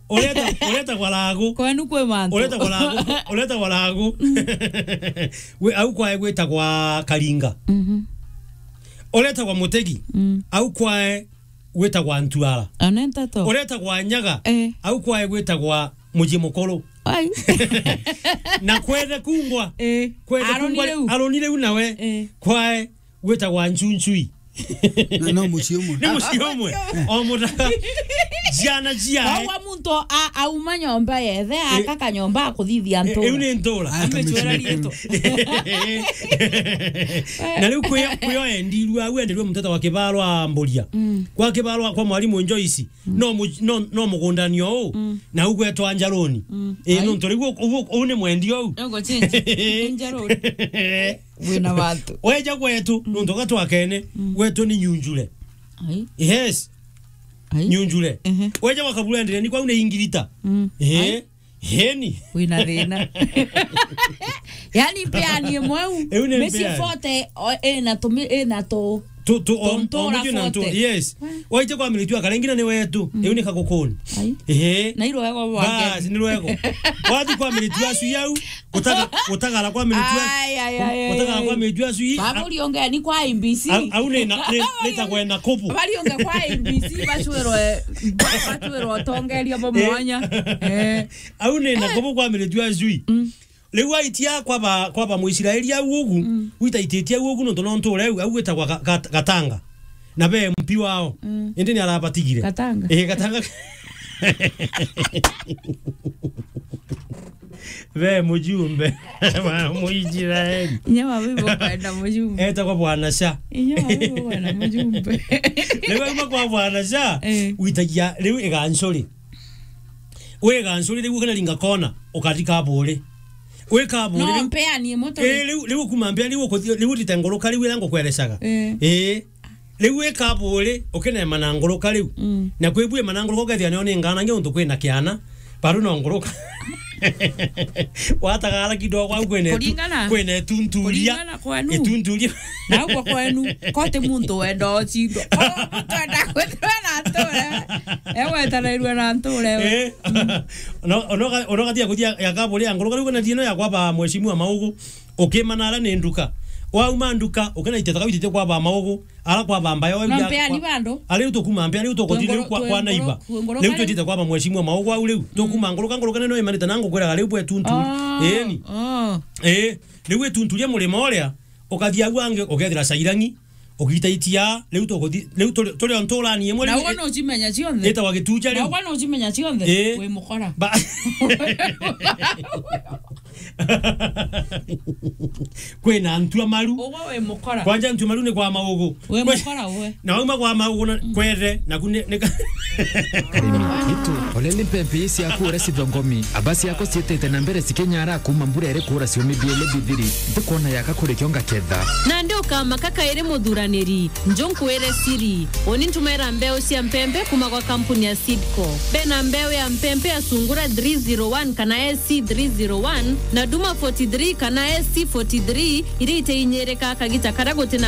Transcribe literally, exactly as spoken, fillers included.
Ureta, ureta kwa Lagu. Kwenu kwi mantu. Ureta kwa Lagu, ureta kwa Lagu. We, au kwae gwitagwa Karinga. Mhm. Ureta kwa Mutegi. Mm. Au kwae gwitagwa Ntuara. Anenta to. Ureta kwa Nyaga. Eh. Au kwae gwitagwa Mucii Mukuru. Ai. Na kwethe kungwa. Eh. Kwethe Aroni kungwa, riu. Aroni riu nawe. Eh. Kwae gwitagwa Nchunchui. Na no mucii umwe. Ni mucii umwe. O mutaka. Ciana ciae. Wagwa muntu a-, auma nyomba yethe, eh, akaka nyomba akuthithia, eh, ntura. Iu ni ntura. Aya, amecwera kamicii. Rietu. Na riu kwio, kwio endirua, au endirua muteta wa Kibarwa Mburia. Mm. Kwa Kibarwa kwa mwarimu Joyce. Mm. No mu-, no, no mugundani o uu. Mm. Na ugwetwa Njaruni. Mm. Ii, ai. Nontu riu u-, u-, uu ni mwendia uu. Ugo change. Njaruni. Wina watu. Weja gwetu, mm, nontu gatwakene, mm, gwetu ni Nyunjure. Ai. Yes. Ai. Nyunjure. Ehe. Weja gwa Kaburendere, ni kwau ni Ingirita. Mm. Ehe. Ai. Heni. Wina thina. Yani mpeani imwe u. Iu ni micii mpeani. Forty, o, ina tumi-, ina tu-, tu, tu, tu, o, ntura o muju na ntu, forty. Yes. We. Waite kwa miritu akarengina ni wetu. Mm. Iu ni Kagukuni. Ai. Ehe. Na irwego rwake. Bas, ni rwego. Wathi kwa miritu acu yau, utaga-, utagara kwa miritu acu. Ai, ai, ai, ai, utagara ai. Kwa miritu acu i-, a-, baburi onge ni kwa I B C. Au, au ni na, ni, ni ta kwena kubu. Bari onge kwa I B C, bacwirwe, bacwirwe utongeria bo. Eh. Mwanya. Eh. Au ni na kubu kwa miritu acu i. Mm. Riu aitia kwaba, kwaba Muisraeli au ugu, mm, witaititie au ugu, nontu no nture au, au gwitagwa Ga-, Gat-, Gatanga. Na be M P wao. Mm. Indi ni arabatigire. Gatanga? Eh, Gatanga. Be mujumbe wa Muisraeli. Inya wa bibo kwenda mujumbe. Etagwa Bwana Sha. Inya wa bibo kwenda mujumbe. Riu auma kwa Bwana Sha, eh, witagia riu igancuri. Wi igancuri riu ukinaringa kona, ukari Kaburi. Wi Kaburi. No, riu mpeani imwe tu. Eh, riu, riu kuma mpeani, riu ukuthi-, riu utite nguruka, riu iria ngukwerecaga. Eh. Eh. Riu wi Kaburi, ukinema na nguruka riu. Mm. Na kwi bwi ema na nguruka, ukethia nio ni nganange untu kwina kiana, baru no nguruka. Watagara kidogo au kwina itu-, kuringana, kwina itunturia. Kuringana kwenu. Itunturia. Na ugwo kwenu, ko ti muntu wenda ucindwa. Ko muntu wenda kwithirwa na nture. Egwetanairua na nture. Eh. Mm. No, no, no, gatia kuthia ya Kaburi ya nguruka, riu kana thieno ya kwaba Mheshimiwa Maugu. Ukimana ara ni nduka. Wauma nduka, ukinaitite taka witite kwaba Maugu. Ara kwaba mbaya, no, mpeani bandu. Ari u tukuma mpeani, riu tukuthi riu kwa, kwa naiba. Riu twitite kwaba Mheshimiwa Maugu au riu. Mm. Tukuma nguruka, nguruka nene imanite na ngukwiraga riu bwe tuntu. Oh. Eni. Oh. Eh, riu itunturia murima uria, ukathia au angi, ukethira Cairangi, ugitaitia, riu tukuthi, riu turi, turi o nturani imwe. Na riu ugo no ucimenya cionthe. Itagwa Gituja riu. Na ugo no ucimenya cionthe. Eh. Wi mukora. Ba- Kwina ntua maru. Ugo wi mukora. Kwanja ntua maru ni kwa Maugu. Wi mukora uwe. Na wauma kwa Maugu na kwere, naku ni, ni ka- Karimi, itu, ole ni mpempe ii ciaku uria cithongomi, aba ciako ciitite na mbere cikinyara kuuma mbura iri kuura ciumithie ile bithiri, ntikwona yaka kuri kio ngaketha. Nandi ukamaka kairi muthuraniri, njo nkwire siri, uni ntumaira mbeu cia mpempe kuuma gwa kampuni ya Seedco. Bena mbeu ya mpempe ya Sungura three zero one kana S C three zero one, na Duma forty-three kana S C forty-three, iria iteinyirika kagita karia gutina